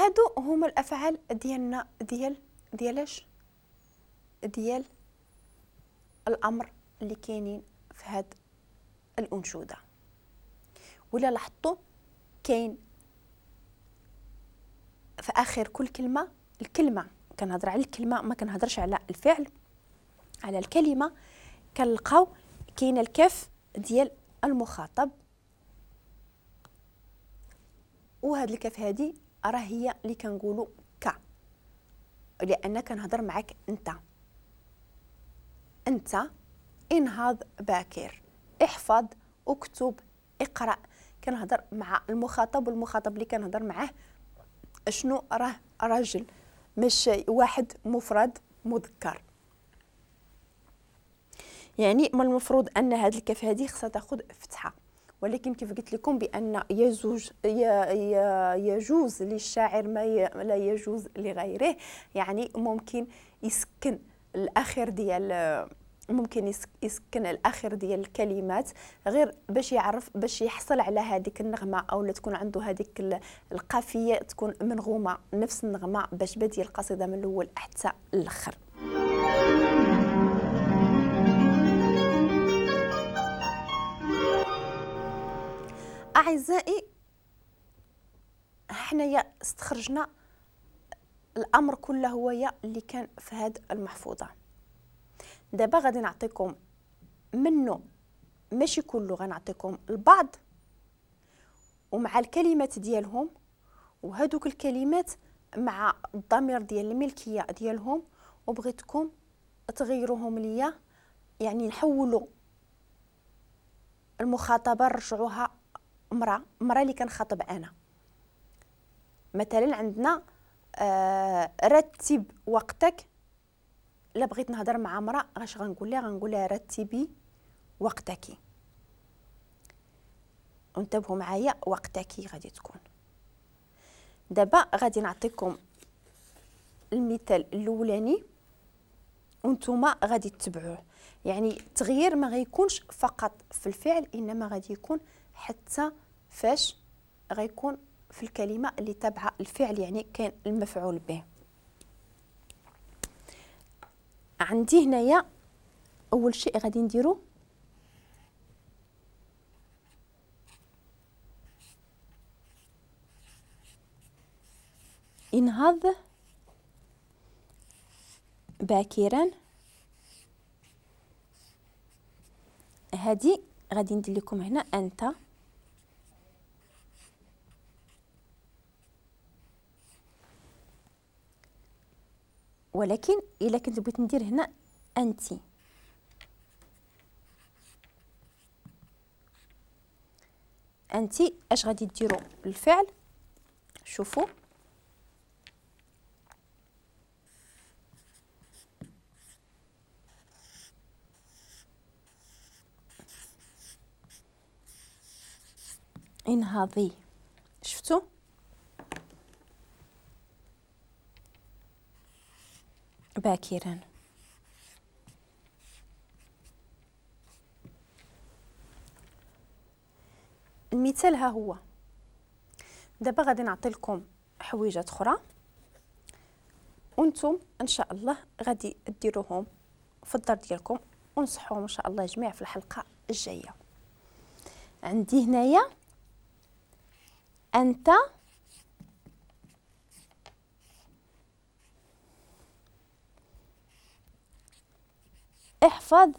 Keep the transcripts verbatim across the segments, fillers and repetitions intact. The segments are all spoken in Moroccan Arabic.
هادو هما الافعال ديالنا ديال ديالاش ديال الامر اللي كاينين في هاد الانشوده. ولا لاحظتوا كاين في اخر كل كلمة الكلمة، كنهضر على الكلمة ما كنهضرش على الفعل، على الكلمة كنلقاو كاين الكاف ديال المخاطب، وهاد الكاف هادي راه هي اللي كنقولوا ك، لان كنهضر معاك انت. انت انهض باكر، احفظ، اكتب، اقرا. كنهضر مع المخاطب، والمخاطب اللي كنهضر معاه شنو؟ راه راجل مش واحد مفرد مذكر. يعني من المفروض ان هاد الكاف هادي خصها تاخذ فتحه، ولكن كيف قلت لكم بان يجوز يجوز للشاعر ما لا يجوز لغيره، يعني ممكن يسكن الاخر ديال ممكن يسكن الاخر ديال الكلمات غير باش يعرف، باش يحصل على هذيك النغمة او لا تكون عنده هذيك القافيه تكون منغومه نفس النغمة باش بادي القصيدة من الاول حتى الاخر. اعزائي حنايا استخرجنا الامر كله هو يا اللي كان في هذه المحفوظة. دابا غادي نعطيكم منه ماشي كله، غنعطيكم البعض ومع الكلمات ديالهم، وهذوك الكلمات مع الضمير ديال الملكية ديالهم، وبغيتكم تغيروهم ليا، يعني نحولوا المخاطبة نرجعوها امراة، امراة اللي كنخاطب انا. مثلا عندنا آه رتب وقتك، لا بغيت نهضر مع امراة اش غنقول لها؟ غنقول لها رتبي وقتك. انتبهوا معايا، وقتك غادي تكون. دابا غادي نعطيكم المثال الاولاني وانتم غادي تتبعوه، يعني التغيير ما غيكونش فقط في الفعل، انما غادي يكون حتى فاش غيكون في الكلمة اللي تابعه الفعل، يعني كاين المفعول به. عندي هنايا اول شيء غادي نديرو انهض باكرا، هادي غادي ندير لكم هنا انت، ولكن الا كنت بغيت ندير هنا انتي، انتي اش غادي ديروا الفعل؟ شوفوا انهضي، شفتوا؟ باكرا. المثال ها هو. دابا غادي نعطي لكم حويجات اخرى وانتم ان شاء الله غادي ديروهم في الدار ديالكم ونصحوهم ان شاء الله جميع في الحلقة الجاية. عندي هنايا انت احفظ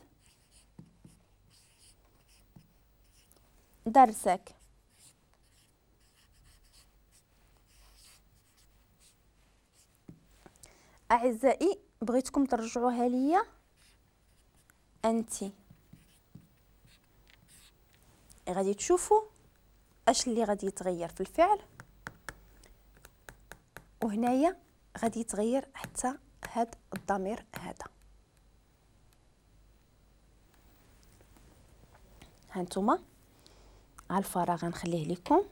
درسك. أعزائي بغيتكم ترجعوها ليا أنتي، غادي تشوفوا اش اللي غادي يتغير في الفعل، وهنايا غادي يتغير حتى هاد الضمير هذا. هانتوما على الفراغ غنخليه لكم.